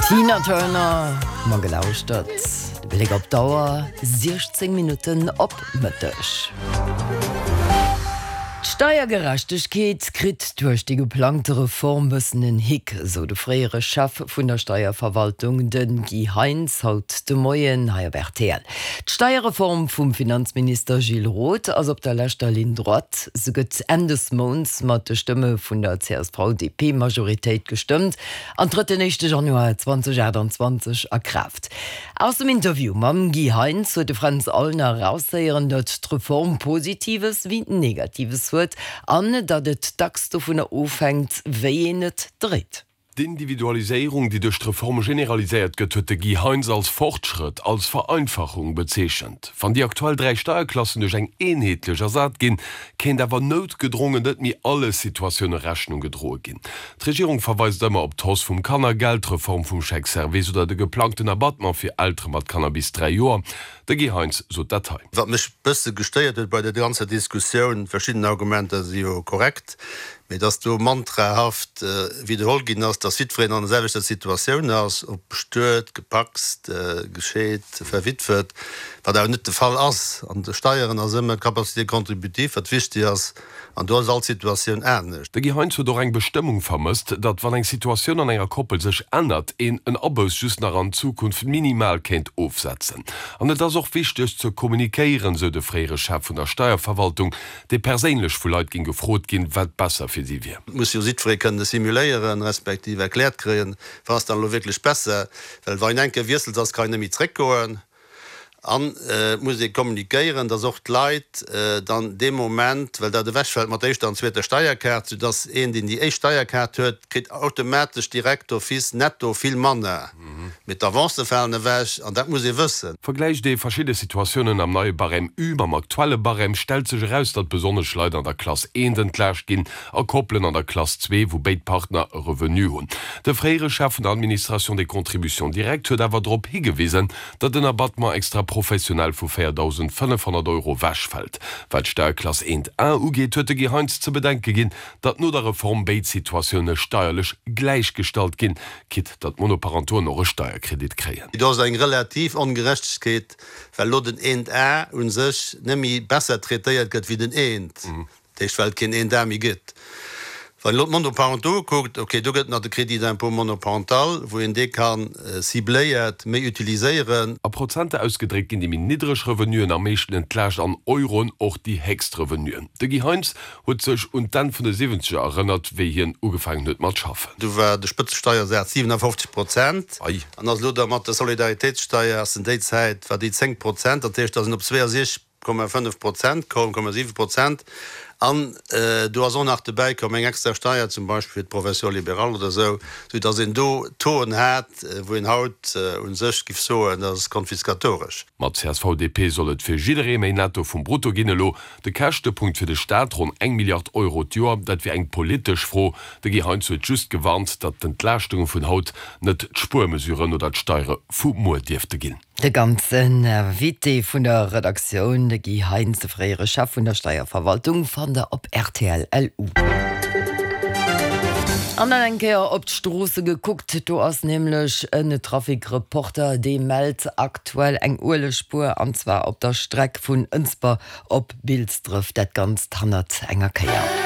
Tina Turner hu mer gelauschtert. De Bléck op d'Auer, 16 Minutten op Mëtteg. D'Steiergerechtegkeet kritt duerch déi geplangte Reform bëssen en Hick, sou de fréiere Chef vun der Steierverwaltung, de Guy Heintz, haut de Moien hei op rtl. D'Steierreform vum Finanzminister Gilles Roth ass op der leschter Ligne droite. Se gëtt Enn des Mounts mat de Stëmme vun der CSV-DP-Majoritéit gestëmmt an trëtt den éischte Januar 2028 a Kraaft. Aus dem Interview mam Guy Heintz huet de Fränz Aulner eraushéieren, datt d'Reform Positives wéi Negatives huet an datt et dacks dovunner ofhänkt, wéi een et dréit. D'Individualiséierung, déi duerch d'Reform generaliséiert gëtt, huet de Guy Heintz als Fortschrëtt, als Vereinfachung bezeechent. Wann déi aktuell 3 Steierklassen duerch eng eenheetlech ersat ginn, kéint awer noutgedrongen net méi alle Situatioune Rechnung gedroe ginn. D'Regierung verweist ëmmer op d'Hausse vum Kannergeld, d'Reform vum Chèque Service oder de geplangten Abattement fir Eltere mat Kanner bis 3 Joer. De Guy Heintz sot dat hei. Wat mech bësse gestéiert huet bei der ganzer Diskussioun, verschidden Argumenter si jo korrekt, mee dass do mantrahaft widderholl ginn ass, dass jiddwereen an der selwechter Situatioun ass, ob bestuet, gepacst, gescheet, verwitwet, wat awer net de Fall ass. An de Steieren ass ëmmer d'Capacité contributive, wat wichtig ass. An do ass all Situatioun anescht. De Guy Heintz huet och eng Bestëmmung vermësst, datt wann eng Situatioun an enger Koppel sech ännert, een en Abouss just nach an Zukunft minimal kéint ofsetzen. An et ass och wichteg ze kommunikéieren, sou de fréiere Chef vun der Steierverwaltung, dee perséinlech vu Leit géing gefrot ginn, wat besser fir si wier. Et muss jo jiddweree kënne simuléieren, respektiv erkläert kréien, wat ass dann elo wierklech besser, well wa een eng Kéier wiesselt ass, kann een net méi zréckgoen. An et muss ee kommunikéieren, dass och d'Leit dann dee Moment, well dat ewechfält mat der éischter an zweeter Steierkaart, soudass een, deen déi éischt Steierkaart huet, kritt automatesch direkt d'office netto vill manner, mee d'Avancë falen ewech an dat muss ee wëssen. Vergläicht ee verschidde Situatiounen am neie Barème U mam aktuelle Barème, stellt sech eraus, datt besonnesch Leit an der Klass eent entlaascht ginn a Koppelen an der Klass zwee, wou béid Partner e Revenu hunn. De fréiere Chef vun der Administration des contributions directes huet awer drop higewisen, datt den Abattement extra-professionnel vu 4.500 Euro wechfält. Wat d'Steierklass 1 A ugeet, huet de Guy Heintz ze bedenke ginn, datt no der Reform béid Situatioune steierlech gläichgestallt ginn, quitte datt d'Monoparentoen och e Steierkredit kréien. Do ass eng relativ Ongerechtegkeet, well elo den 1 A u sech net méi besser traitéiert gëtt wéi den 1. Dat heescht, well et keen een Dar méi gëtt. Wann een elo d'Monoparentaux kuckt, okay, do gëtt et nach de Crédit d'impôt monoparental, wou een dee ka cibléiert méi utiliséieren. A Prozenter ausgedréckt ginn déi méi niddreg Revenuen am meeschten entlaascht, an Euroen och déi héchst Revenuen. De Guy Heintz huet sech un d'Enn vun de Siwwenzeger erënnert, wéi hien ugefaangen huet mat schaffen. Du war de Spëtzesteiersaz 57 Prozent an ass elo da mat der Solidaritéitssteier ass en déi Zäit war déi 10 Prozent, dat heescht, ass en op 62 7 Prozent koum, 7 Prozent, an do ass och nach dobäi komm eng extra Steier zum Beispill fir d'Profession libérale oder esou, sou datt een do Tauxen hat, wou een haut u sech giff soen, dat ass konfiskatoresch. Mat CSV-DP soll et fir jidderee méi Netto vum Brutto ginn. Elo de Käschtepunkt fir de Staat, ronn eng Milliard Euro d'Joer, dat wier eng politesch Fro. De Guy Heintz huet just gewarnt, datt d'Entlaaschtunge vun haut net d'Spuermesuren oder d'Steiere vu muer dierfte ginn. De ganzen Invité vun der Redaktioun, de Guy Heintz, de fréiere Chef vun der Steierverwaltung, fannt der op rtl. LU. An dann eng Kéier op d'Stroosse gekuckt, do ass nämlech en Trafic-Reporter, dee mellt aktuell eng Uelegspuer, an zwar op der Streck vun Ënsber op Bilsdref, dat Ganzt hannert enger Kéier.